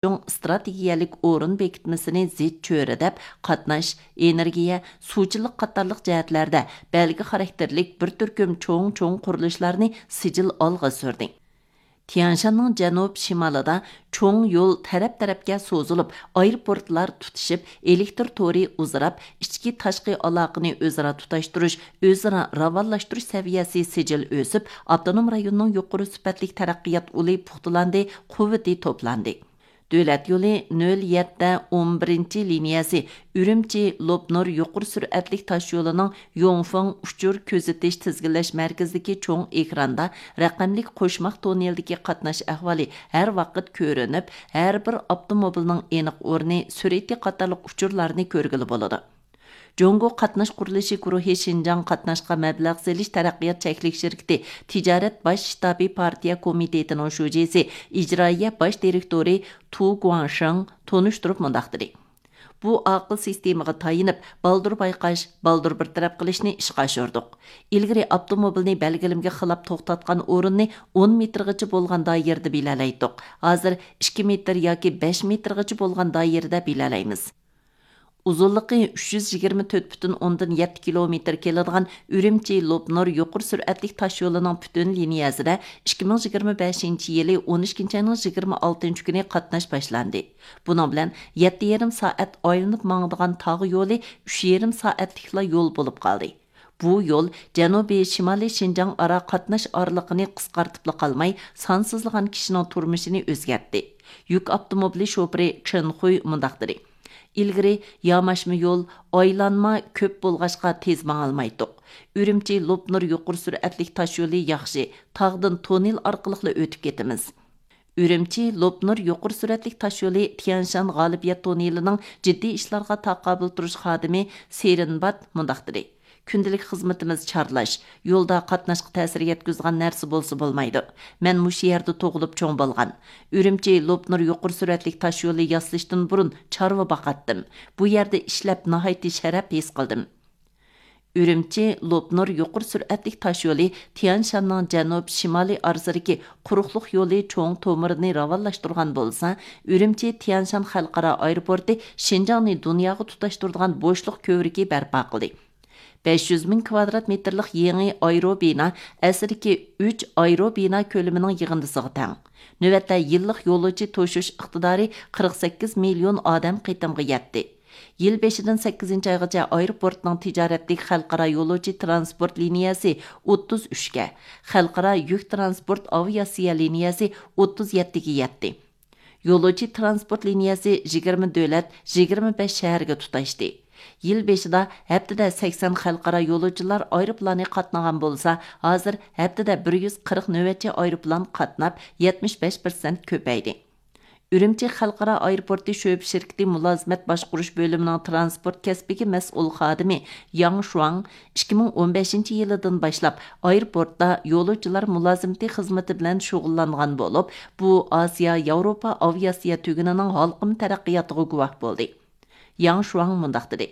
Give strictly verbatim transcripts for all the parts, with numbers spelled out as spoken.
چوڭ ئىستراتېگىيەلىك ئورۇن بېكىتمىسىنى زىچ چۆرىدەپ، قاتناش، ئېنېرگىيە، سۇچىلىق قاتارلىق جەھەتلەردە بەلگە خاراكتېرلىك بىر تۈركۈم چوڭ-چوڭ قۇرۇلۇشلارنى سىجىل ئالغا سۈردى. تيەنشاننىڭ جەنۇب شىمالىدا چوڭ يول تەرەپ-تەرەپكە سوزۇلۇپ، ئايروپورتلار تۇتىشىپ، ئېلېكتىر تورى ئۇزىراپ، ئىچكى تاشقى ئالاقىنى ئۆزئارا تۇتاشتۇرۇش، ئۆزئارا راۋانلاشتۇرۇش سەۋىيەسى سىجىل ئۆسۈپ، ئاپتونوم رايوننىڭ يۇقىرى سۈپەتلىك تەرەققىيات ئۇلى پۇختىلاندى، قۇۋۋىتى توپلاندى. دۆلەت يولى نۆل يەتتە ئون بىرىنچى لىنىيەسى ئۈرۈمچى لوپنۇر يۇقىرى سۈرئەتلىك تاشيولىنىڭ يوڭفېڭ ئۇچۇر كۆزىتىش تىزگىنلەش مەركىزىدىكى چوڭ ئېكراندا رەقەملىك قوشماق توننېلدىكى قاتناش ئەھۋالى ھەر ۋاقىت كۆرۈنۈپ، ھەر بىر ئاپتوموبىلنىڭ ئېنىق ئورنى، سۈرئىتى قاتارلىق ئۇچۇرلارنى كۆرگىلى بولىدۇ. جۇڭگو قاتناش قۇرۇلۇشى گۇرۇھى شىنجاڭ قاتناشقا مەبلەغ سېلىش تەرەققىيات چەكلىك شىركىتى تىجارەت باش شتابى پارتىيە كومىتېتىنىڭ شۇجىسى، ئىجرائىيە باش دىرېكتورى تۇ گۇاڭشېڭ تونۇشتۇرۇپ مۇنداق دېدى: بۇ ئاقىل سىستېمىغا تايىنىپ، بالدۇر بايقاش، بالدۇر بىر تەرەپ قىلىشنى ئىشقا ئاشۇردۇق. ئىلگىرى ئاپتوموبىلنى بەلگىلىمىگە خىلاپ توختاتقان ئورۇننى ئون مېتىرغىچە بولغان دائىرىدە بىلەلەيتتۇق. ھازىر ئىككى مېتىر ياكى بەش مېتىرغىچە بولغان دائىرىدە بىلەلەيمىز. ئۇزۇنلۇقى ئۈچ يۈز يىگىرمە تۆت پۈتۈن ئوندىن يەتتە كىلومېتىر كېلىدىغان ئۈرۈمچى لوپنۇر يۇقىرى سۈرئەتلىك تاشيولىنىڭ پۈتۈن لىنىيەسىدە ئىككى مىڭ يىگىرمە بەشىنچى يىلى ئون ئىككىنچى ئاينىڭ يىگىرمە ئالتىنچى كۈنى قاتناش باشلاندى. بۇنىڭ بىلەن يەتتە يېرىم سائەت ئايلىنىپ ماڭىدىغان تاغ يولى ئۈچ يېرىم سائەتلىكلا يول بولۇپ قالدى. بۇ يول جەنۇبىي شىمالىي شىنجاڭ ئارا قاتناش ئارىلىقىنى قىسقارتىپلا قالماي، سانسىزلىغان كىشىنىڭ تۇرمۇشىنى ئۆزگەرتتى. يۈك ئاپتوموبىلى شوپۇرى چېن خۇي مۇنداق دېدى: ئىلگىرى ياماشما يول، ئايلانما كۆپ بولغاچقا تېز ماڭالمايتتۇق. ئۈرۈمچى لوپنۇر يۇقىرى سۈرئەتلىك تاشيولى ياخشى، تاغدىن توننېل ئارقىلىقلا ئۆتۈپ كېتىمىز. ئۈرۈمچى لوپنۇر يۇقىرى سۈرئەتلىك تاشيولى تيەنشان غالىبىيەت توننېلىنىڭ جىددىي ئىشلارغا تاقابىل تۇرۇش خادىمى سېرىنبات مۇنداق دېدى: كۈندىلىك خىزمىتىمىز چارلاش، يولدا قاتناشقا تەسىر يەتكۈزىدىغان نەرسە بولسا بولمايدۇ. مەن مۇشۇ يەردە تۇغۇلۇپ چوڭ بولغان. ئۈرۈمچى لوپنۇر يۇقىرى سۈرئەتلىك تاشيولى ياسىلىشتىن بۇرۇن چارۋا باقاتتىم. بۇ يەردە ئىشلەپ ناھايىتى شەرەپ ھېس قىلدىم. ئۈرۈمچى لوپنۇر يۇقىرى سۈرئەتلىك تاشيولى تيەنشاننىڭ جەنۇب شىمالىي ئارىسىدىكى قۇرۇقلۇق يولى چوڭ تومۇرىنى راۋانلاشتۇرغان بولسا، ئۈرۈمچى تيەنشان خەلقئارا ئايروپورتى شىنجاڭنى دۇنياغا تۇتاشتۇرىدىغان بوشلۇق كۆۋرۈكى بەرپا قىلدى. بەش يۈز مىڭ كىۋادرات مېتىرلىق يېڭى ئايرو بىنا ئەسلىدىكى ئۈچ ئايرو بىنا كۆلىمىنىڭ يىغىندىسىغا تەڭ. نۆۋەتتە يىللىق يولۇچى توشۇش ئىقتىدارى قىرىق سەككىز مىليون ئادەم قېتىمغا يەتتى. يىل بېشىدىن سەككىزىنچى ئايغىچە ئايروپورتنىڭ تىجارەتلىك خەلقئارا يولۇچى ترانسپورت لىنىيەسى ئوتتۇز ئۈچكە، خەلقئارا يۈك ترانسپورت ئاۋىئاتسىيە لىنىيەسى ئوتتۇز يەتتىگە يەتتى. يولۇچى ترانسپورت لىنىيەسى يىگىرمە دۆلەت، يىگىرمە بەش شەھەرگە تۇتاشتى. يىل بېشىدا ھەپتىدە سەكسەن خەلقئارا يولۇچىلار ئايروپىلانى قاتنىغان بولسا، ھازىر ھەپتىدە بىر يۈز قىرىق نۆۋەتچى ئايروپىلان قاتناپ، يەتمىش بەش پىرسەنت كۆپەيدى. ئۈرۈمچى خەلقئارا ئايروپورتى شۆبە شىركىتى مۇلازىمەت باشقۇرۇش بۆلۈمىنىڭ ترانسپورت كەسپىگە مەسئۇل خادىمى ياڭ شۇاڭ ئىككى مىڭ ئون بەشىنچى يىلىدىن باشلاپ ئايروپورتتا يولۇچىلار مۇلازىمىتى خىزمىتى بىلەن شۇغۇللانغان بولۇپ، بۇ ئاسىيا ياۋروپا ئاۋىئاتسىيە تۈگۈنىنىڭ ھالقىما تەرەققىياتىغا گۇۋاھ بولدى. ياڭ شۇاڭ مۇنداق دېدى: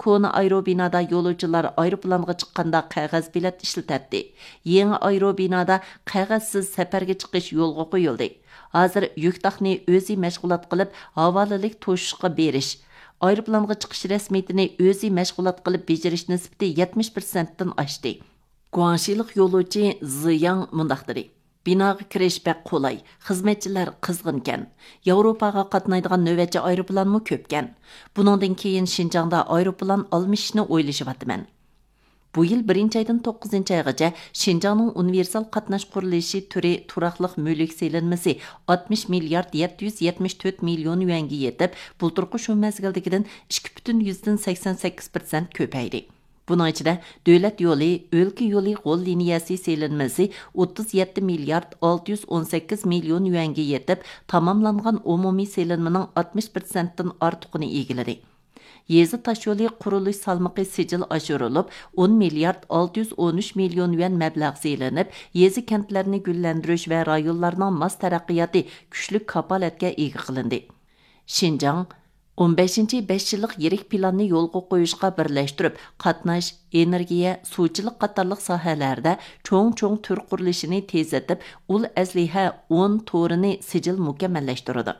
كونا ئايرو بىنادا يولۇچىلار ئايروپىلانغا چىققاندا قەغەز بېلەت ئىشلىتەتتى. يېڭى ئايرو بىنادا قەغەزسىز سەپەرگە چىقىش يولغا قويۇلدى. ھازىر يۈك تاقنى ئۆزى مەشغۇلات قىلىپ، ھاۋالىلىك توشۇشقا بېرىش، ئايروپىلانغا چىقىش رەسمىيىتىنى ئۆزى مەشغۇلات قىلىپ بېجىرىش نىسبىتى يەتمىش پىرسەنتتىن ئاشتى. گۇاڭشىلىق يولۇچى زى ياڭ مۇنداق دېدى: بىناغا كىرىش بەك قولاي، خىزمەتچىلەر قىزغىنكەن. ياۋروپاغا قاتنايدىغان نۆۋەتچى ئايروپىلانمۇ كۆپكەن. بۇنىڭدىن كېيىن شىنجاڭدا ئايروپىلان ئالمىشىشنى ئويلىشىۋاتىمەن. بۇ يىل بىرىنچى ئايدىن توققۇزىنچى ئايغىچە شىنجاڭنىڭ ئۇنىۋېرسال قاتناش قۇرۇلۇشى تۈرى تۇراقلىق مۈلۈك سېلىنمىسى ئاتمىش مىليارد يەتتە يۈز يەتمىش تۆت مىليون يۈەنگە يېتىپ، بۇلتۇرقى شۇ مەزگىلدىكىدىن ئىككى پۈتۈن يۈزدىن سەكسەن سەككىز پىرسەنت كۆپەيدى. بۇنىڭ ئىچىدە دۆلەت يولى، ئۆلكە يولى غول لىنىيەسى سېلىنمىسى ئوتتۇز يەتتە مىليارد ئالتە يۈز ئون سەككىز مىليون يۈەنگە يېتىپ، تاماملانغان ئومۇمىي سېلىنمىنىڭ ئاتمىش پىرسەنتتىن ئارتۇقىنى ئىگىلىدى. يېزا تاشيولى قۇرۇلۇش سالمىقى سىجىل ئاشۇرۇلۇپ، ئون مىليارد ئالتە يۈز ئون ئۈچ مىليون يۈەن مەبلەغ سېلىنىپ، يېزا، كەنتلەرنى گۈللەندۈرۈش ۋە رايونلارنىڭ ماس تەرەققىياتى كۈچلۈك كاپالەتكە ئىگە قىلىندى. شىنجاڭ ئون بەشىنچى بەش يىللىق يىرىك پىلاننى يولغا قويۇشقا بىرلەشتۈرۈپ، قاتناش، ئېنېرگىيە، سۇچىلىق قاتارلىق ساھەلەردە چوڭ-چوڭ تۈر قۇرۇلۇشىنى تېزلىتىپ، ئۇل ئەسلىھە ئون تورىنى سىجىل مۇكەممەللەشتۈرىدۇ.